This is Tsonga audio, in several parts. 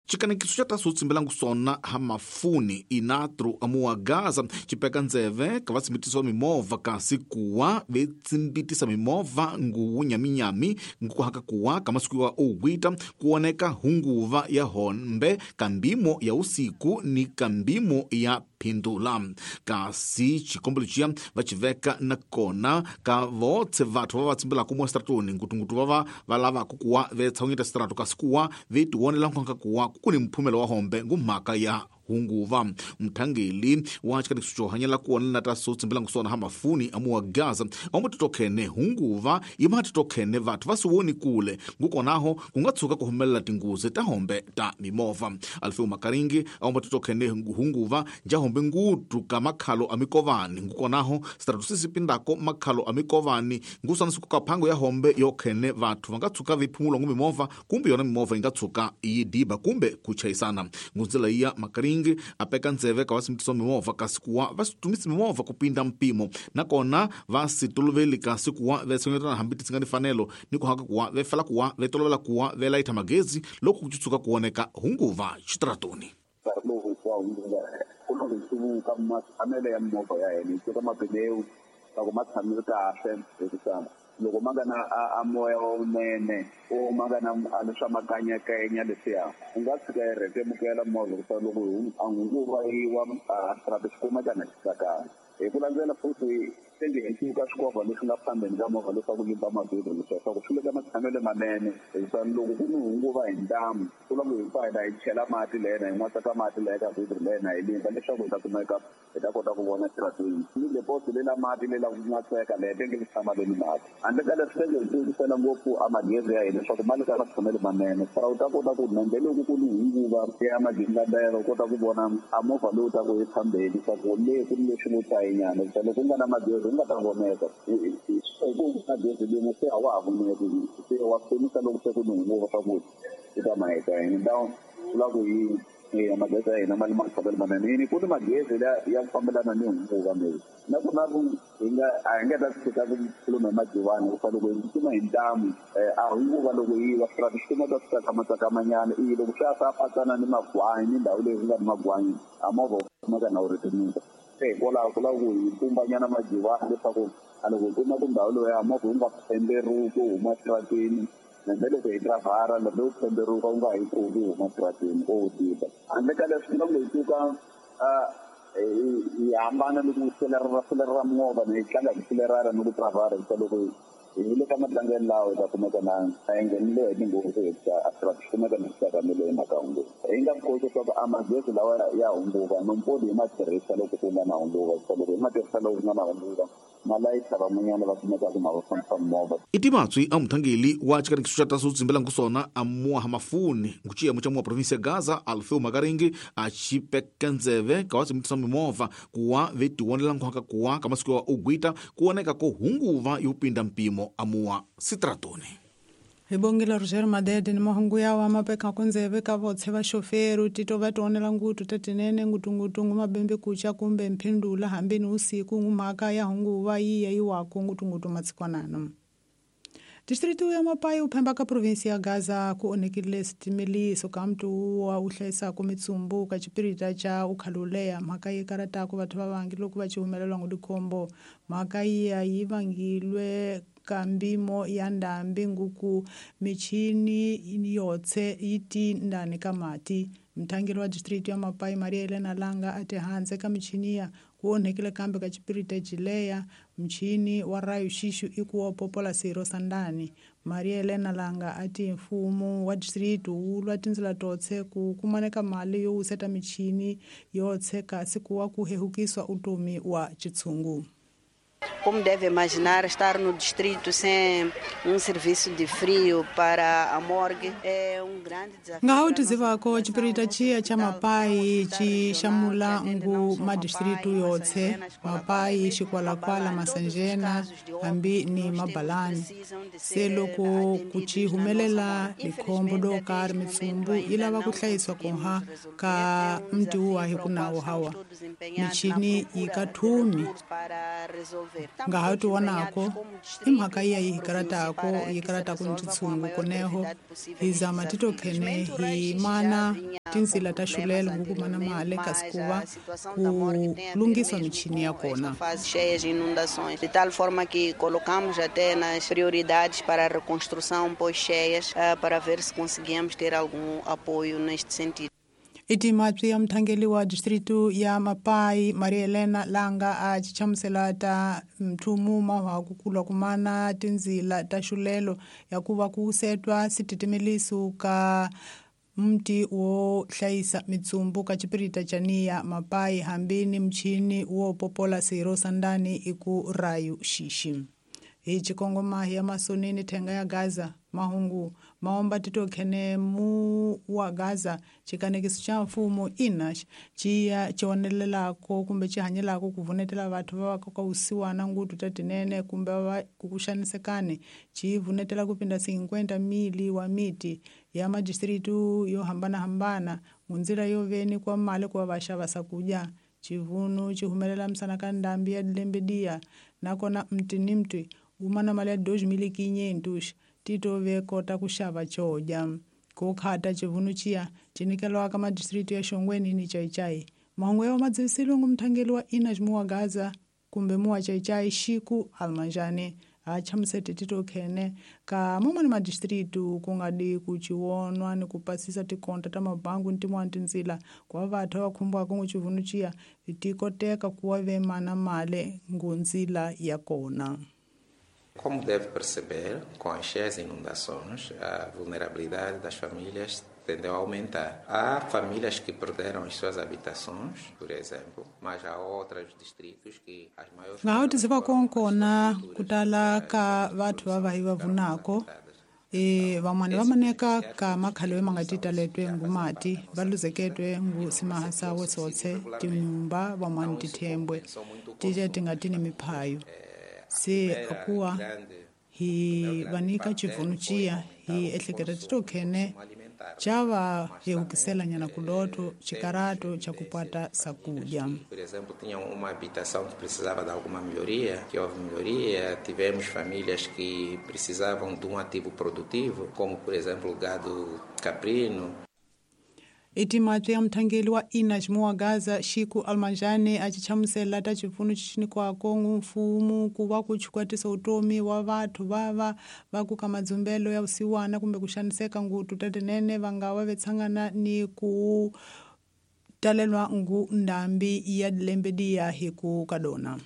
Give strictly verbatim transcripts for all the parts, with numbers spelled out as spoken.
Chikanekiso xa taso tsimbelangu sona ha mafuni inatru amuwa Gaza chipeka ndzeve ka vatsimbitisi va mimovha kasi kuwa vetsimbitisa mimovha nguwu nyaminyami ngukuhaka kuwa ka masiku ya ugwita kuoneka hunguva ya hombe kambimo ya usiku ni kambimo ya phindula. Kasi chikombelo chiya vachiveka na kona ka votse vathu va vatsimbelaka mo stratoni ngutungutu va va lavaka kuwa vetshawunyeta strato kasi kuwa vetiwonela nkonka kuwa kuni mphumelo wa hombe ngumhaka ya hunguva. Mthangeli wa chikanekiso xo hanyela kuona na taso tsimbelangu sona ha mafuni amuwa Gaza amutitokhene hunguva imatitokhene vathu va siwoni kule ngukonaho kungatsuka ku humelela tinguzi ta hombe ta mimovha. Alfeu Makaringi amutitokhene hunguva nja hombe ngutu ka makhalo a mikovani ngukonaho strato sisipindako makhalo a mikovani ngusanisiku ka phango ya hombe yokhene vathu vangatsuka viphumulo ngu mimovha kumbe yona mimovha ingatsuka yi diba kumbe kuchayisana. Ngunzela iya Makaringi apeka ndzeve ka vasimitiso mimovha kasi kuwa va situmisi mimovha kupinda mpimo nakona va sitoloveli kasi kuwa vetsonyetana hambi ti nga fanelo ni ku haka kuwa vefela kuwa vetolovela kuwa velayitha magezi loko ku tshuka kuoneka hunguva xitratoni. Ya mimovha ya hina yi teka mapileu loko ma tshamile kahle hikuva loko ma nga na a moya lowunene o ma nga na leswa makanyakanya leswiya u nga tshika yi rhetemukela movha hikuva loko a hunguva yiwa a xirhato xi kumeka na xi tsakanga. Hi ku landzela futhi tenge hi tsuka swikovha leswi nga phambeni ka movha leswaku limba mavhilwa leswaku swi le ka matshamelo manene hikuva loko ku ni hunguva hi ntamu ku lava hi pfa hina hi chela mati lena hi n'watsaka mati leya ka vhilwa lena hi limba leswaku hi ta kumeka hi ta kota ku vona xirhatweni ni leposi lela mati lela ku n'watseka leya tenge li tshama leni mati handle ka leswi tenge hi tsukisela ngopfu a magezi ya hina leswaku ma le ka matshamelo manene swa u ta kota ku nhambe loko ku ni hunguva ya magingandela u kota ku vona a movha lowu taku hi phambeni leswaku le ku ni leswi ngo tayinyana hikuva loko ku nga na magezi u nga ta voneka ku magezi limo se a wa ha voneki se wa pfunisa loko se ku ni hunguva swa ku i ta maheta hi ndhawu swi lava ku yi magezi ya hina ma le matshamelo manene yini ku ni magezi ya ku fambelana ni hunguva maybe na ku na ku hi nga a hi nga ta tshika ku khuluma hi madivani hikuva loko hi tsutsuma hi ntamu a hunguva loko yi wa swi swi kumeka swi tsakamatsakama i loko swi ya swa patsana ni magwanyi ni ndhawu leyi ku nga ni magwanyi a movha wu kumeka na wu rhetemuka. Se hikwalaho ku lava ku hi pumbanyana madivani leswaku a loko hi kuma tindhawu loya movha wu nga pemberuki wu huma xitratini hambi loko hi driver loko wu pemberuka wu nga hi pfuki wu huma xitratini o wu diba. Handle ka leswi loko hi suka hi hambana ni ku selerera selerera movha ni hi tlanga hi selerera ni ku driver hikuva loko hi le ka matlangelo lawa hi ta kumeka na a hi nghenile hi tinghozi hikuva a swi kumeka na swi tsakamile hi mhaka hunguva. Hi nga koti leswaku a magezi lawa ya hunguva nompodi hi ma tirhisa loko ku nga na hunguva hikuva loko hi ma tirhisa loko ku nga na hunguva malayitha van'wanyana va kumekaka ma va fambisa movha. I timatswi a muthangeli wa chikanekiso xa taso tsimbelangu sona a muwa ha mafuni nguchiyemo xa muwa provinsi ya Gaza Alfeu Makaringi a chipeka ndzeve ka vatsimbitisa mimovha kuwa vetiwonela nkhwaka kuwa ka masiku ya ugwita kuoneka ko hunguva yo pinda mpimo a muwa sitratoni. Hi bongile Roger Madede ni mahungu yawa mapeka kundzeve ka votse va xoferu tito va tionela ngutu tatinene ngutungutungu mabembe kucha kumbe mphindula hambi ni usiku ngumhaka ya hunguva yiya yiwako ngutungutu matsikwanano. Distrito ya Mapai uphemba ka provinsi ya Gaza ku onhekile switimeliso ka mntu wa u hlayisaka mitsumbu ka xipirita xa ukhaluleya mhaka yi karataka vathu va vangi loko va ci humelelwa ngudikhombo mhaka yiya yi vangilwe ka mbimo ya ndhambi nguku michini yotse yi ti ndani ka mati. Mthangeli wa district ya Mapai Maria Elena Langa a ti handze ka michini ya ku onhekile kambe ka xipirita jileya mchini wa rayo xixu i ku wa popola siro sandani. Maria Elena Langa a ti mfumo wa district wu lwa tindzela totse ku kumaneka mali yo wuseta michini yotse kasi ku wa ku hehukiswa utomi wa chitshungu. Como deve imaginar, estar no distrito sem um serviço de frio para a morgue é um grande desafio. Nga tizivako chipirita chiya cha Mapai chi xamula ngu madistritu yotse Mapai Xikwalakwala Masanjena hambi ni Mabalani se loko ku chi humelela likhombo do karhi mitsumbu yi lava ku hlayisiwa koha ka mtiwa hi ku nawu hawa michini yi ka thumi nga ha tionako i mhaka iya yi karatako yi karatako ni tshungu koneho hi zama titokhene hi mana Tinzila ta xulelo ngu kumana mali kasi ku va ku lunghisiwa michini ya kona. Cheias e inundações, de tal forma que colocamos até nas prioridades para a reconstrução pós-cheias, para ver se conseguimos ter algum apoio neste sentido. Itimatwi ya mthangeli wa distritu ya Mapai Maria Helena Langa a chichamusela ta mthumu mahwaku kulwa kumana tinzila ta xulelo ya kuva ku setwa sititimeliso ka mti wo hlayisa mitsumbu ka chipirita chaniya Mapai hambini mchini wo popola siro sandani iku rayu xixi. Hi chikongoma ya masonini thenga ya Gaza mahungu maomba titokhene mu wa Gaza chikanekiso cha mfumo inax chiya chionelelako kumbe chihanyelako kuvunetela vathu va ka usiwana ngutu tatinene kumbe va kukuxanisekane chivunetela kupinda cinquenta mili wa miti ya madistritu yo hambana-hambana ngunzila yo veni kwa mali kwa vaxava sakuja chivunu chihumelela msana ka ndambi ya dilembedia nakona mti ni mti umana mali ya dois mil quinhentos tito ve kota kuxava coja kukhata chivunu chiya chinikelwa ka madistritu ya Xongweni ni Chaichai. Mahungu ya madzivisilo ngu mthangeli wa Inax muwa Gaza kumbe muwa Chaichai Xiku Almanjani a chamusete tito khene ka mumani madistritu kungadi kuchiwonwa ni kupasisa tikonta ta mabangu ntimwani tinzila kwa vathu va khumbwaka ngu chivunu chiya tikoteka kuwa ve mana male ngunzila ya kona. Como deve perceber, com as cheias e inundações, a vulnerabilidade das famílias tendeu a aumentar. Há famílias que perderam as suas habitações, por exemplo, mas há outros distritos que as maiores... Ngaho tiziva konkona kutala ka vathu va vahi va vunako e van'wana va maneka ka makhale ma nga titaletwe ngumati va luzeketwe ngu simahasa wesotse tinyumba van'wana tithembwe tije ti nga ti ni miphayo. Se akuwa hi vanika chivunu chiya hi ehleketa titokhene chava yehukisela nyana kuloto chikarato cha kupata sakuja. Por exemplo, tinham uma habitação que precisava de alguma melhoria, que houve melhoria, tivemos famílias que precisavam de um ativo produtivo, como por exemplo o gado caprino. Itimatwi ya mthangeli wa Inax muwa Gaza Xiku Almanjani a chichamusela ta chipfuno chichinikwako ngu mfumo ku va ku chikwatisa utomi wa vathu vava va ku ka madzumbelo ya vusiwana kumbe ku xaniseka ngutu tatinene va nga va vetshangana ni ku talelwa ngu ndambi ya dilembediya hi ku kadona.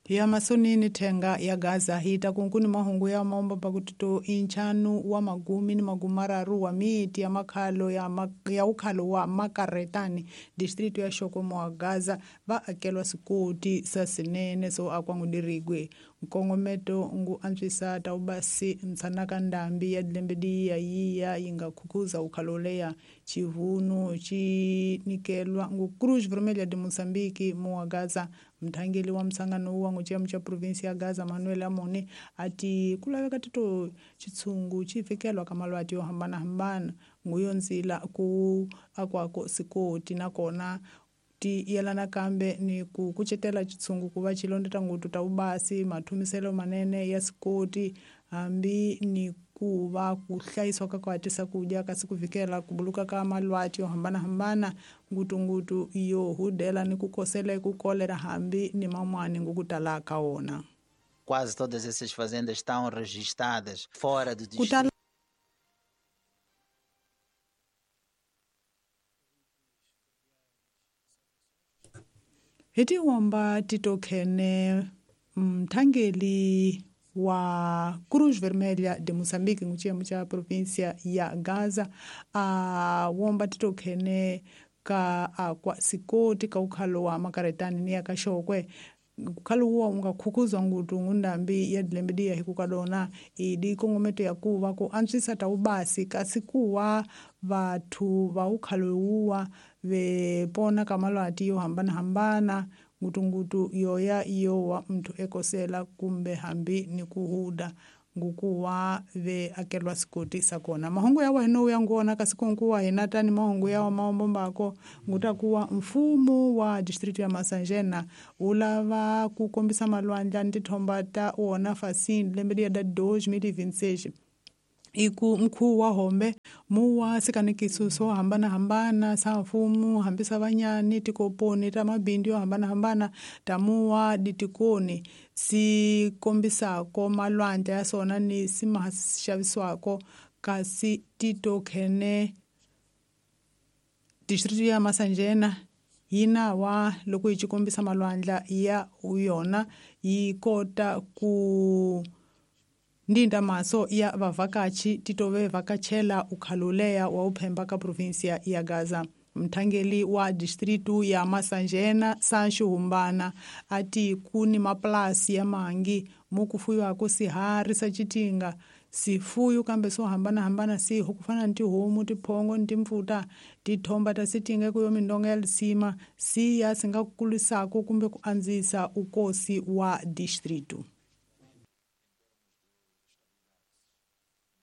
Ya masonini thenga ya Gaza hita kunkuni mahungu ya maomba pakutito inchanu wa magumi ni magumararu wa miti ya makhalo ya, ma, ya ukhalo wa makaretani distritu ya Xoko wa Gaza va akelwa sikoti sa sinene so akwangudirigwe nkongometo ngu antswisa ta ubasi mtsanaka ndambi ya dilembediya yiya yinga khukuza ukhalo leya chivunu chinikelwa ngu Cruz Vermelha de Moçambique muwa Gaza. Mthangeli wa msangano wa nguchiyamo cha provinsi ya Gaza Manuel Amoni ati kulaveka tito chitsungu chifikelwa ka malwati yo hambana-hambana nguyo nzila ku akwako sikoti nakona ti yelana kambe ni ku kucetela chitsungu kuva chilondeta ngutu ta ubasi mathumiselo manene ya sikoti hambi ni kuva ku hlayisiwa ka ku hatisa kudya kasi ku vikela ku buluka ka malwati yo hambana-hambana ngutungutu yo hudela ni ku kosela eku kolera hambi ni man'wani ngukutala ka wona. Quase todas essas fazendas estão registradas fora do distrito. Hi tiwomba titokhene mthangeli wa Cruz Vermelha de Moçambique nguchiyemo cha província ya Gaza a womba titokhene ka akwa sikoti ka ukhalo wa makaretani ni ya ka Xokwe ukhalo wuwa unga khukuzwa ngutu ngundambi ya dilembediya hi kukadona idi kongometo ya kuva ku antswisa ta ubasi kasi kuwa vathu va ukhalo wuwa ve pona ka malwati yo hambana-hambana ngutungutu yoya yowa mntu ekosela kumbe hambi ni kuhuda ngukuwa ve akelwa sikoti sakona. Mahungu ya wahino uya nguona kasi kunkuwa hinatani mahungu ya wa maombo mbako ngutakuwa mfumo wa distritu ya Masanjena ulava kukombisa malwandla ntithomba ta wona fasini lembe liya da dois mil e vinte e seis. Iku mkhu wa hombe muwa sikanikiso swo hambanahambana sa mfumo hambi sa vanyani tikoponi ta mabindzu yo hambanahambana ta muwa ditikoni si kombisako malwandla ya sona ni si ma xavisiwako kasi titokhene district ya Masanjena yi na wa loko yi ci kombisa malwandla ya yona yi kota ku ndinda maso ya vavhakachi titove vhakachela ukhaluleya wa uphemba ka provinsia ya Gaza. Mthangeli wa distritu ya Masanjena Sancho Humbana ati kuni maplasi ya mangi mukufuyiwako sihari sa citinga sifuyu kambe swo hambanahambana siho kufana ni tihomu tiphongo ni timpfuta tithomba ta sitinga ekuyo mindonga ya lisima siya si nga kulisako kumbe ku andzisa ukosi wa distritu.